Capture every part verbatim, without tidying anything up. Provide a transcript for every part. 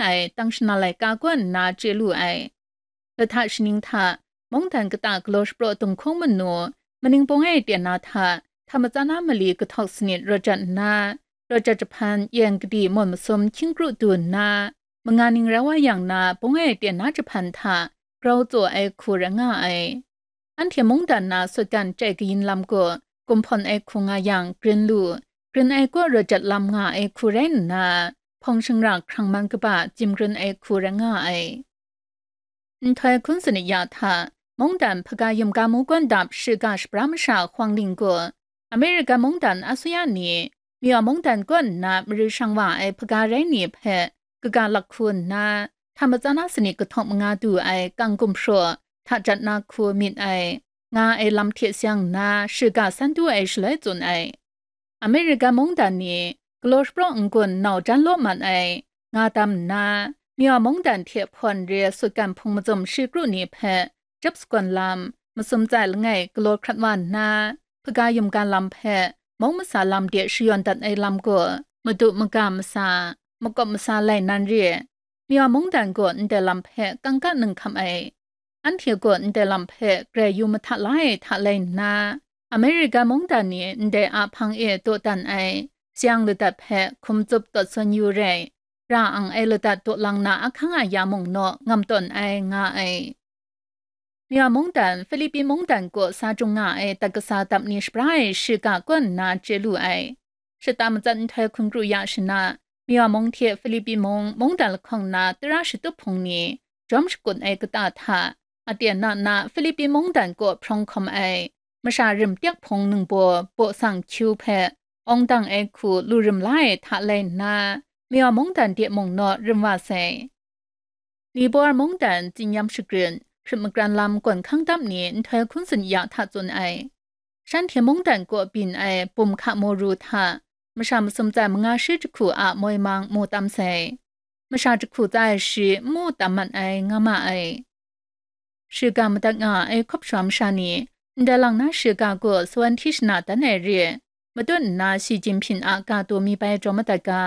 ai tang shana laika kaw nna chye lu ai. Lahta shaning hta, mungdan kata galaw shapraw dunghkung manu, maning pawng e tyen na hta, hta matsan a mali kahtawk sanit rawt jat nna, rawt jat jahpan yeng kadi mawn masum hkying kru du nna, manga ning rau wa yang na pawng e tyen na jahpan hta grau tsaw ai hku rai nga ai. Anhte mungdan na sutgan chyai kayin lam gaw gumhpawn ai hku nga yang grin lu, grin ai kaw rawt jat lam nga ai hku rai nna, hpawng shingra hkrang man kaba jim grin ai hku rai nga ai. Nhtoi hkun sanit ya hta, mungdan hpaga yumga mu gawn dap shiga shapra masha Huang Ling gaw, Amerika mungdan asuya ni, Myaw mungdan kaw nna mari shang wa ai hpaga rai ni hpe kaga lak hku nna, hta matsan a sanit kahtawk manga du ai kang gumhpraw hta jat na hku myit ai, nga ai lam hte seng nna, shiga san du ai shaloi tsun ai. Amerika mungdan ni galaw shapraw n-gun nau jan law mat ai, nga tam nna, Myaw mungdan hte hpawn re sutgan hpung mazum shi kru ni hpe jap sagawn lam, masum tsai langai galaw hkrat wa nna, hpaga yumga lam hpe mung masa lam de shayawn dat ai lam gaw, madu maga masa, makawp masa lai nan re. Myaw mungdan gaw ndai lam hpe kangka nang hkam ai. Anhte gaw ndai lam hpe grai yu mahta la ai hta lai nna, Amerika mungdan ni ndai a hpang e dawdan ai, seng ladat hpe hkum tsup tawt sawn yu rai, ra ang ai ladat daw lang na ahkang a ya mung naw ngam tawn ai nga ai. Myaw mungdan, Philippi mungdan kaw sa jung nga ai dat kasa dap ni shapra ai shiga kaw nna chye lu ai. Shata matsat nhtoi hkun kru ya shana, Myaw mung hte Philippi mung mungdan lahkawng na tara shatup hpung ni jawm shakut ai kata hta, aten na na Philippi mungdan kaw hprawng hkawm ai, masha rim tyak hpung ningbaw baw sang hkyu hpe awng dang ai hku lu rim la ai hta lai nna, Myaw mungdan de mung naw rim wa sai. Nibor mungdan tsinyam shagrin, hkrit magran lam gawn hkang dap ni nhtoi hkun tsun ya hta tsun ai. Shanhte mungdan kaw byin ai bum hka maru hta, masha masum tsai manga shi jahku a moi mang mu tam sai. Masha jahku tsai shi n mu tam mat ai nga ma ai. Shiga madat nga ai hkawp shawa masha ni, ndai lang na shiga gaw sawan hti shana dan ai re, matut nna Xi Jinping a ga taw mi bai jaw madat ga.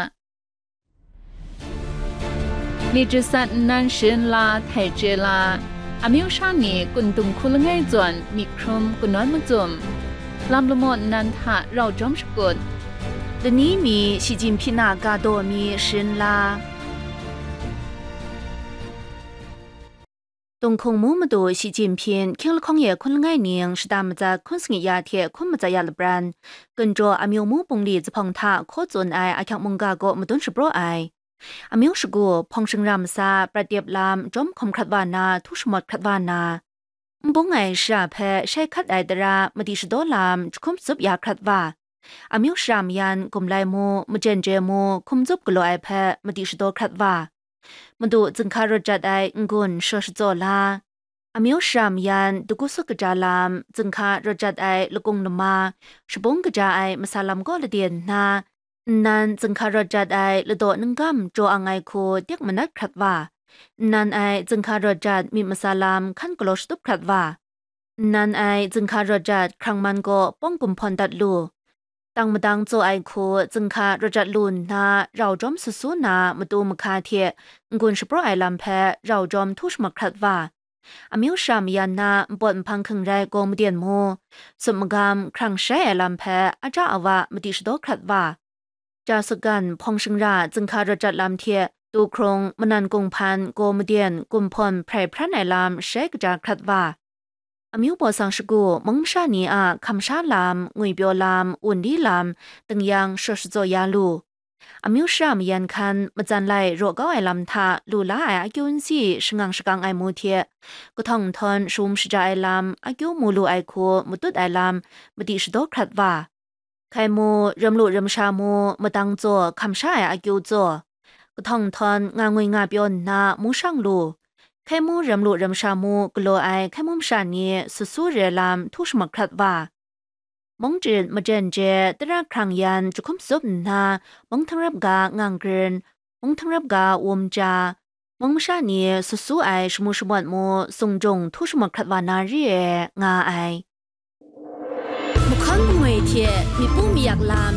มีจิตสัตว์นั้น sharin la, htai chye la, amyu sha ni kun dung hku langai zawn myit hkrum kanawn macum, lam lamaw nnan hta rau jawm shakut, lani mi Xi Jinping a ga daw mi sharin la. Tunghkung mu madu Xi Jinping hkying lahkawng ye hkun langai ning shata matsat hkun sangi ya hte hkun matsat ya lapran, Gunjaw amyu mu bungli zuphpawng hta hkaw tsun ai ahkyak mungga kaw madun shapraw ai. Amyu shagu, hpawng shingra masa, prat dep lam, jawm hkawm hkrat wa na, htu shamawt hkrat wa na, n bung ai shara hpe shai hkat ai tara madi shadaw lam jahkum tsup ya hkrat wa, amyu shara mayan gumlai mu, majen je mu, hkum tsup galaw ai hpe madi shadaw hkrat wa, madu zinghka rawt jat ai n-gun shaw shatsaw la, amyu shara mayan dagu sut kaja lam, zinghka rawt jat ai lakung lama, shabung kaja ai masa lam kaw laden nna, nnan zinghka rawt jat ai ladaw nunggam jaw ang ai hku dik manat hkrat wa, nnan ai zinghka rawt jat myit masa lam hkan galaw shatup hkrat wa, nnan ai zinghka rawt jat hkrang man kaw pawng gumhpawn dat lu, tang madang tsaw ai hku zinghka rawt jat lu nna, rau jawm sut su na matu mahka hte n-gun shapraw ai lam hpe rau jawm htu shamak hkrat wa, amyu shara mayan na npawt nhpang hkring rai gaw maden mu, sut magam hkrang shai ai lam hpe aja awa madi shadaw hkrat wa, ja sutgan hpawng shingra zinghka rawt jat lam hte tu hkrung manan kunghpan gaw maden gumhpawn hprai hpran ai lam shai kaja hkrat wa, amyu baw sang shagu mung masha ni a hkam sha lam, ngwipyaw lam, wunli lam, tingyan shaw shatsaw ya lu, amyu shara mayan hkan matsan lai raw kau ai lam hta lu la ai akyu nsi shangang shakang ai mu hte, kahtawng nhtawng shaum shaja ai lam, akyu mu lu ai hku matut ai lam madi shadaw hkrat wa, hkai mu, ram lu ram sha mu, madang tsaw, hkam sha ai akyu tsaw, kahtawng nhtawng nga ngwi nga pyaw nna mu shang lu, hkai mu, ram lu ram sha mu galaw ai hkai mu masha ni sut su re lam htu shamak hkrat wa, mung jit majen je tara hkrang yan jahkum tsup nna, mung htangrap ga ngang grin, mung htangrap ga wum ja, mung masha ni sut su ai shamu shamawt mu sung jung htu shamak hkrat wa na re ai, nga ai. Mahkawn mangwi hte myit pu mayak lam